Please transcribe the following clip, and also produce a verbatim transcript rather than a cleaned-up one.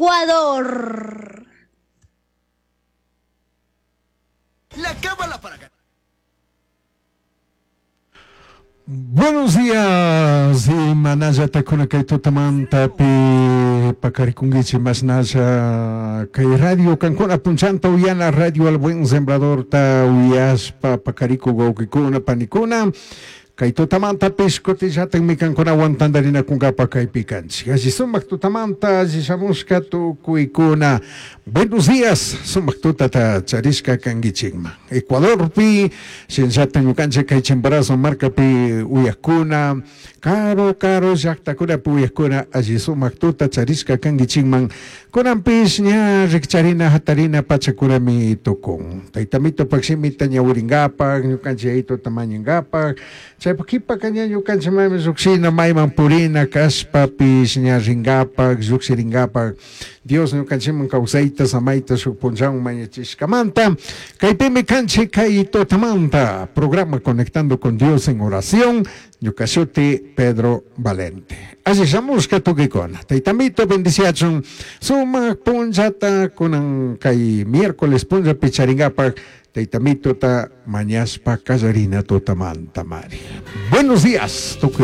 Ecuador. La cábala para ganar. Buenos días, imanallata kuna kay tutamantapi pakarikunkichik mashnalla kay radio kankuna punchanta uyana radio al buen sembradorta uyaspa pakarikuk wawkikuna panikuna kay tutamantapish kutillatakmi kankunawan tantarinakunkapa kaypi kanchik alli sumak tutamanta alli shamushka tukuykuna. Buenos días, sumak tutata charishka kankichikman Ecuadorpi shinallatak ñukanchik kay Chimborazo markapi uyakuna karu karu llaktakunapi uyakuna alli sumak tuta charishka kankichikman kunanpish ña rikcharina hatarina pachakunami tukun taytamitopak shimita ñawirinkapak ñukanchik yayituta mañankapak chaypak kipaka ña ñukanchik mayman llukshina mayman purina kashpapish ña rinkapak llukshirinkapak Dios ñukanchikman kawsayta samayta shuk punllawan mañachishkamanta kaypimi kanchik kay tutamanta programa Conectando con Dios en Oración ñuka shuti Pedro Valente. Alli shamushka tukuykuna taytamito bendiciachun sumak punllata kunan kay miércoles punllapi charinkapak taytamitota mañashpa kallarina tutamanta mari. Buenos días tukuy.